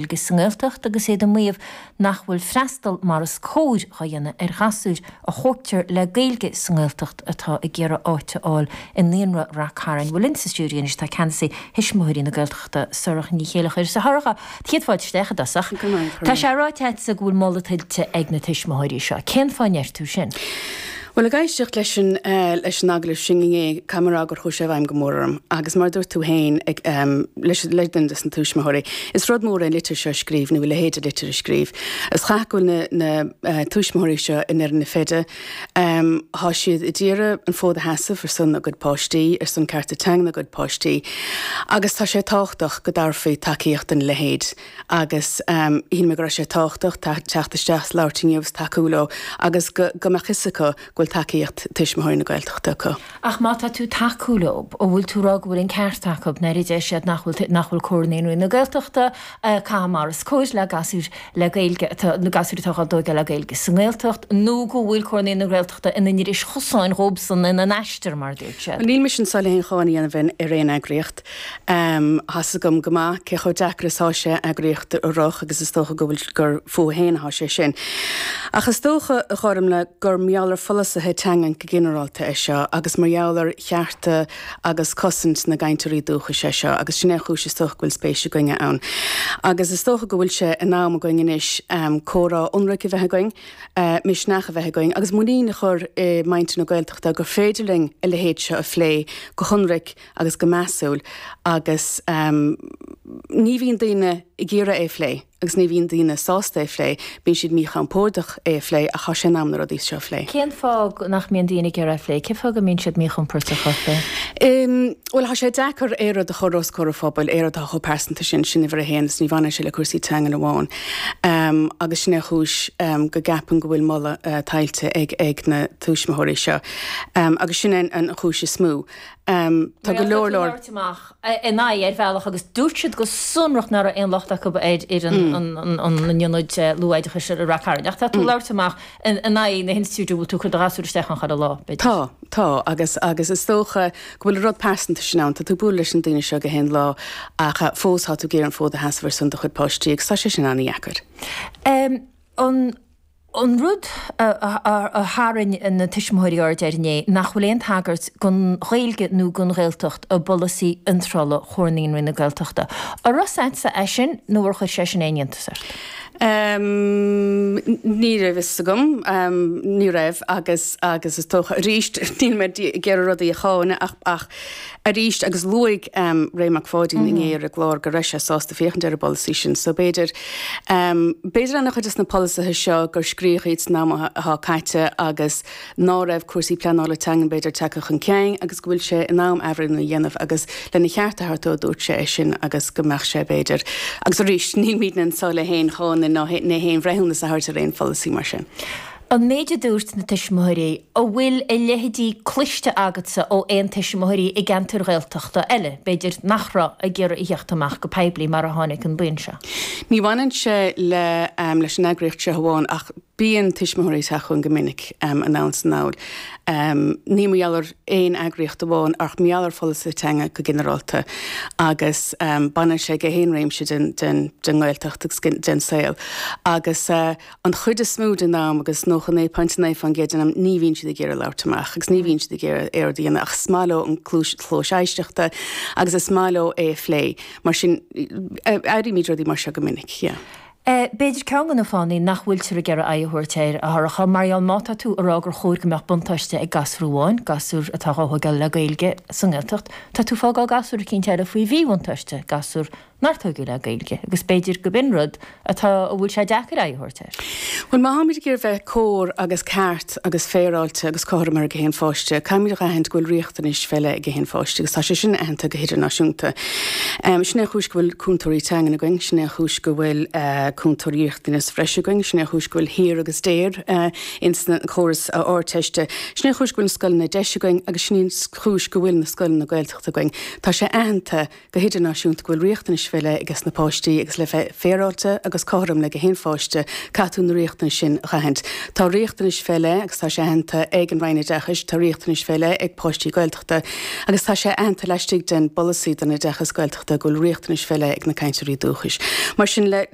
Gaeilge sa nGaeltacht agus iad ag maíomh nach bhfuil freastal mar is cóir dhá dhéanamh ar ghasúir a thógtar le Gaeilge sa nGaeltacht atá ag iarraidh áit a fháil i Naíonra Rath Cairn. Bhuel linn sa stiúideo anois tá Ceannasaí Thuismitheoirí na Gaeltachta, Sorcha Ní Chéilleachair. A Shorcha, céad fáilte isteach i dtosach. Tá sé ráite agatsa go bhfuil moladh tuillte ag na tuismitheoirí seo. Cén fáth a ndeir tú sin? Bhuel, ag éisteacht leis an leis an agallamh sin inné, caithfidh mé a rá gur chuaigh sé i bhfeidhm go mór orm. Agus mar a dúirt tú féin ag leis le duine des na tuismitheoirí, is rud mór é an litir seo a scríobh nó a leithéid de litir a scríobh. Is caithfidh go bhfuil na na tuismitheoirí seo i ndeireadh na feide. Tá siad ag iarraidh an fód a sheasamh ar son a gcuid páistí, ar son cearta teangan a gcuid páistí. Agus tá sé tábhachtach go dtabharfaí tacaíocht dona leithéid. Agus shíl mé go raibh sé tábhachtach teacht isteach is labhairt inniu is tacú leo agus go go mbeadh fhios acu go bhfuil tacaíocht Tuismitheoirí na Gaeltachta acu. Ach má tá tú tacú leo, an bhfuil tú ag rá go bhfuil an ceart acu nuair a deir siad nach bhfuil nach bhfuil Comhar Naíonraí na Gaeltachta ag caitheamh mar is cóir le gasúir le Gaeilge atá na gasúir atá á dtóigeáil le Gaeilge sa nGaeltacht nó go bhfuil Comhar Naíonraí na Gaeltachta ina ndris chosáin dhóibhsan ina n-aistear mar a dúirt siad? Níl mise anseo le haon cháineadh a dhéanamh ar aon eagraíocht. Tá's agam go maith cé chomh deacair is atá sé eagraíocht a rith agus is dócha go bhfuil gur fúthu féin atá sé sin. Ach is dócha, a Ghormlaith, gur mar gheall ar pholasaithe teangan go ginearálta é seo agus mar gheall ar chearta agus cosaint na gcainteoirí dúchais é seo agus sin é an chúis is dócha go bhfuil spéis againne ann. Agus is dócha go bhfuil sé in am againn anois comhrá ionraic a bheith againn, misneach a bheith againn agus muinín a chur i muintir na Gaeltachta gur féidir linn a leithéid seo a phlé go hionraic agus go measúil agus ní bhíonn daoine ag iarraidh é a phlé agus ní bhíonn daoine sásta é a phlé, bíonn siad míchompordach é a phlé ach tá sé in am na rudaí seo a phlé. Cén fáth nach mbíonn daoine ag iarraidh é a phlé? Cén fáth go mbíonn siad míchompordach á phlé? Bhuel, tá sé deacair aon rud a chur os comhair an phobail, aon rud atá chomh pearsanta sin, sin uimhir a haon, agus ní bhaineann sé le cúrsaí teangan amháin. Agus sin é an chúis go gceapaim go bhfuil moladh tuillte ag na tuismitheoirí seo. Agus sin é an chúis is mó. Tá go leor leor. labhairt amach ina aghaidh ar bhealach agus dúirt siad go sonrach nach raibh aon locht acu ar fhoireann an ionaid luathoideachais i Rath Cairn. Ach tá tú ag labhairt amach in aghaidh na hinstitiúide a bhfuil tú ag cur do ghasúr isteach ann chuile lá, b'fhéidir. Tá, tá agus agus is dócha go bhfuil an rud pearsanta sin ann. Tá tú ag bualadh leis na daoine seo gach aon lá ach fós tá tú ag iarraidh an fód a sheasamh ar son do chuid páistí agus tá sé sin an-dheacair. An. An rud a tharraing na tuismitheoirí aird air inné, nach bhfuil aon tagairt don Ghaeilge nó don Ghaeltacht i bpolasaí iontrála Chomhar Naíonraí na Gaeltachta. An raibh a fhios agatsa é sin nó ar chuir sé sin aon iontas ort? Ní raibh fhios agam, ní raibh agus agus is dócha arís níl mé ag iarraidh rudaí a cháineadh ach ach arís agus luaigh Ray Mac Pháidín inné ar an gclár go raibh sé sásta féachaint ar an bpolasaí sin so b'fhéidir B'fhéidir an-chuid de na polasaithe seo gur scríodh iad san am atá caite agus ná raibh cúrsaí pleanála teangan b'fhéidir tagtha chun cinn agus go bhfuil sé in am athbhreithniú a dhéanamh agus lena cheart a thabhairt dó dúirt sé é sin agus go mbeadh sé b'fhéidir agus arís nílimidne anseo le haon cháineadh ná haon bhreithiúnas a thabhairt ar aon pholasaí mar sin. An méid a dúirt na tuismitheoirí, an bhfuil a leithéidí cloiste agatsa ó aon tuismitheoirí i gceantair Ghaeltachta eile, b'fhéidir, nach raibh ag iarraidh a theacht amach go poiblí mar a tháinig an buíon seo? Ní bhaineann sé le leis an eagraíocht seo amháin ach bíonn tuismitheoirí ag teacht chugainn go minic anonn is anall. Ní mar gheall ar aon eagraíocht amháin ach mar gheall ar pholasaithe teanga go ginearálta agus baineann sé go haon réimse den den den nGaeltacht agus den saol agus An chuid is mó den am, agus 99.9% den am, ní bhíonn siad ag iarraidh labhairt amach agus ní bhíonn siad ag iarraidh aon rud a dhéanamh ach is maith leo an cluas éisteachta agus is maith leo é a phlé. Mar sin, airímid rudaí mar seo go minic, yeah. B'fhéidir ceann de na fáthanna nach bhfuiltear ag iarraidh aghaidh a thabhairt air, a Shorcha, mar gheall má tá tú ag rá gur chóir go mbeadh buntáiste ag gasúr amháin, gasúr atá á thógáil le Gaeilge sa nGaeltacht, tá tú ag fágáil gasúr eicínt eile faoi mhíbhuntáiste, gasúr nár tógadh le Gaeilge, agus b'fhéidir go b'in rud atá, a bhfuil sé deacair aghaidh a thabhairt air. Bhuel, má tháimid ag iarraidh bheith cóir agus ceart agus féaráilte agus cothrom ar gach aon pháiste, caithfimid a aithint go bhfuil riachtanais fé leith ag gach aon pháiste agus tá sé sin aitheanta go hidirnáisiúnta. Sin é an chúis go bhfuil cúntóirí teangan againn, sin é an chúis go bhfuil cúntóirí riachtanas bhreise againn, sin é an chúis go bhfuil HEAR agus DARE ins na córas Ardteiste, sin é an chúis go bhfuil na scoileanna deis againn agus sin í an chúis go bhfuil na scoileanna Gaeltachta againn. Tá sé aitheanta go hidirnáisiúnta go bhfuil riachtanais. fé leith ages na páistí agus le bheith féaráilte agus cothrom le gach aon pháiste, caithfidh tú na riachtanais sin a dh'aithint. Tá riachtanais fé leith agus tá sé aitheanta ag an Roinn Oideachais, tá riachtanais fé leith ag páistí Gaeltachta agus tá sé aitheanta laistigh den bpolasaí don oideachas Gaeltachta go bhfuil riachtanais fé leith ag na cainteoirí dúchais. Mar sin, le.